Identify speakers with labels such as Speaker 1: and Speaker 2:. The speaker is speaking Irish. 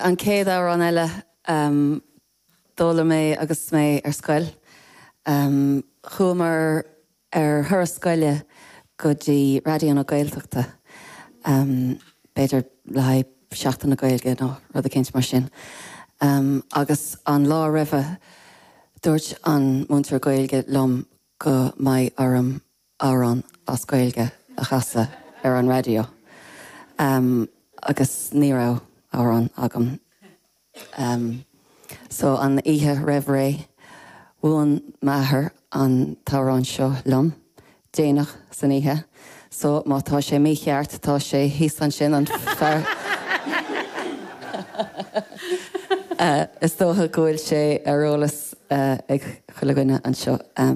Speaker 1: An chéad amhrán eile, d'fhoghlaim mé agus mé ar scoil. Chuamar ar thuras scoile go dtí Raidió na Gaeltachta, b'fhéidir le haghaidh Seachtain na Gaeilge nó rud eicínt mar sin, agus an lá roimhe dúirt an múinteoir Gaeilge liom go mbeidh orm amhrán as Gaeilge a chasadh ar an raidió agus ní raibh amhrán agam. So an oíche roimh ré, mhúin m'athair an t-amhrán seo liom, déanach san oíche, so má tá sé mícheart tá sé thíos ansin, an fear Is dócha go bhfuil sé ar eolas ag chuile dhuine anseo.